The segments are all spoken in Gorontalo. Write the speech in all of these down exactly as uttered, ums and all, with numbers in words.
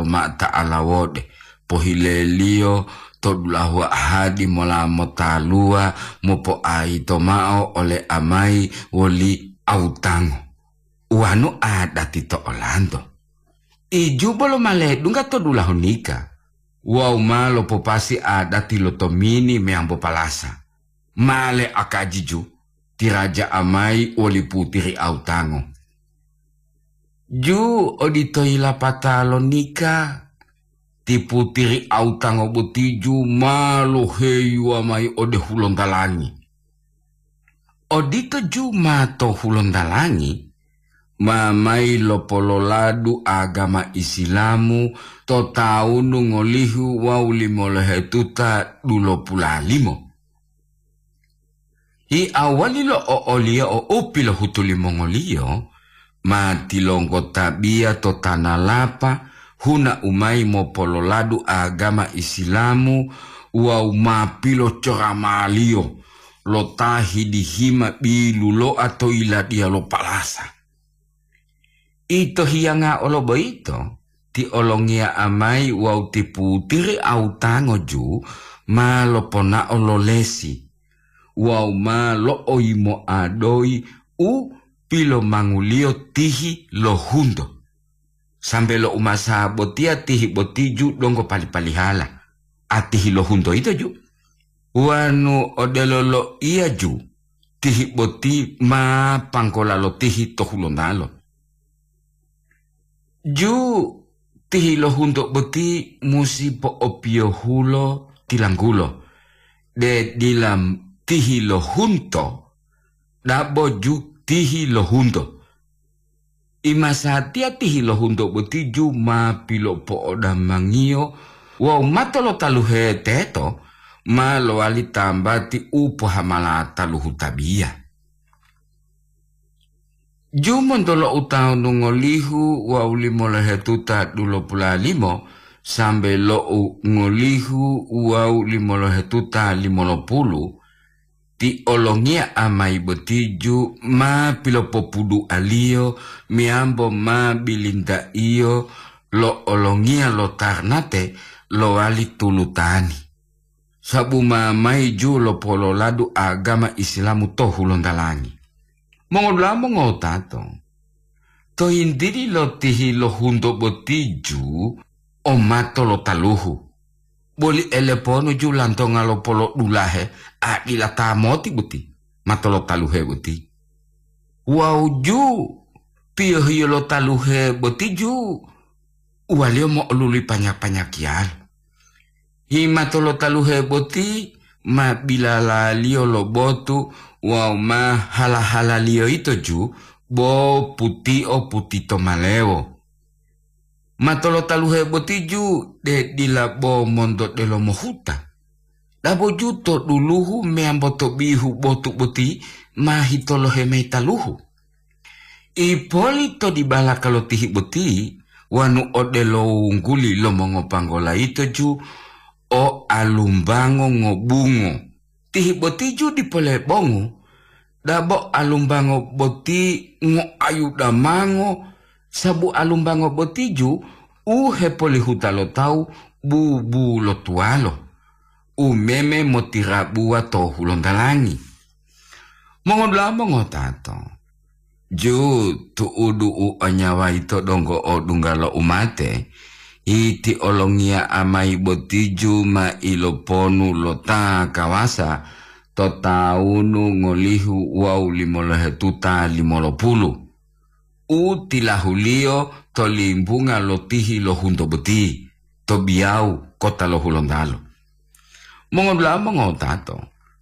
ma ta'ala wode, pohileliyo to dulahu ahadi mola motaluwa mopo'ayito mao ole amayi woli awutango. Uwanu adati to olanto. Iju bolo ma ledungga to dulahu nika, wawu ma lopopasi adati lo tomini meyambo palasa. Ma le akaji ju, ti raja amayi woli putiri awutango. Ju odito yilapata lo nika, ti putiri awutango boti ju ma loheyuwa mayi ode hulontalangi. Odito ju ma to hulontalangi, ma mayi lopololadu agama Isilamu to tawunu ngolihu wawu limolohetuta dulopulalimo. Hi awali lo o'oliyo u pilohutu limongoliyo, ma tilonggotabiya to tanalapa huna u mayi mopololadu agama Isilamu wawu ma pilocoramaliyo lo ta hidihima biluloa to yiladiya lo palasa. Ito hiyanga olo boyito, ti olongiya amayi wawu ti putiri awutango ju ma loponao lo lesi wawu ma lo'oyimoa doyi u pilomanguliyo tihi lo hunto. Sambe lo umasa botiya tihi boti ju donggo pali-palihala, atihi lo hunto yito ju. Wanu odelo loiya ju, tihi boti ma panggola lo tihi to hulontalo. Ju tihi lo hunto boti musi po'opiyohulo tilanggulo, de dila tihi lo hunto, dabo ju tihi lo hunto. Imasatiya tihi lo hunto boti ju ma pilopo'odamangiyo wawu mato lo taluhe teto ma lowali tambati u pohamala taluhu tabiya. Ju monto lo utawunu ngolihu wawu limolohetuta dulopulalimo sambe lo u ngolihu wawu limolohetuta limolopulu, ti olongiya amayi boti ju ma pilopopudualiyo meyambo ma bilintaiyo lo olongiya lo tarnate lowali tulutani, sabu ma mayi ju lopololadu agama Isilamu to hulontalangi. Mongodula'a mongotato, to yintili lo tihi lo hunto boti ju o mato lo taluhu, boli eleponu ju lantonga lo polodulahe a dila ta moti boti, mato lo taluhe boti. Wawu ju piyohiyo lo taluhe boti ju uwaliyo mo'oluli panya-panyakiyalo. Hi mato lo taluhe boti ma bilalaliyo lo botu wawu ma hala-halaliyo yito ju bo putio putito malewo. Mato lo taluhe boti ju de dila bo monto delomo huta. Dabo ju to duluhu meyambo to bihu botu boti ma hitolohe mayi taluhu. Ipoli to dibalaka lo tihi boti, wanu odelo wungguli lo mongopanggola yito ju o alumbango ngobungo. Tihi boti ju dipo lebongu, dabo alumbango boti ngoayu damango, sabu alumbango boti ju u hepolihuta lo tawu bubulotuwalo, u meme motirabuwa to hulontalangi. Mongodula'a mongotato, ju tu'udu u o nyawa yito donggo odungga lo umate, iti olongiya amayi boti ju ma iloponu lo ta kawasa to tawunu ngolihu wawu limolohetuta limolopulu, u tilahuliyo to limbunga lo tihi lo hunto boti to Biyawu kota lo Hulontalo. Mongodula'a mongotato,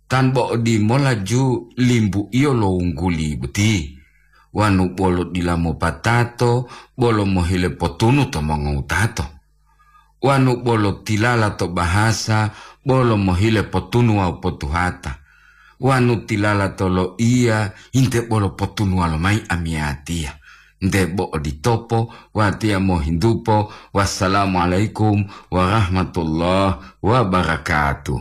tan bo odimola ju limbuiyo lo wungguli boti, wanu bolo dila mopatato bolo mohile potunu to mongotato, wanu bolo tilala to bahasa bolo mohile potunu wawu potuhata, wanu tilala to loiya inte bolo potunuwa lomayi amiyatiya. Nte bo oditopo, watiya mohintupo. Wassalamualaikum warahmatullahi wabarakatuh.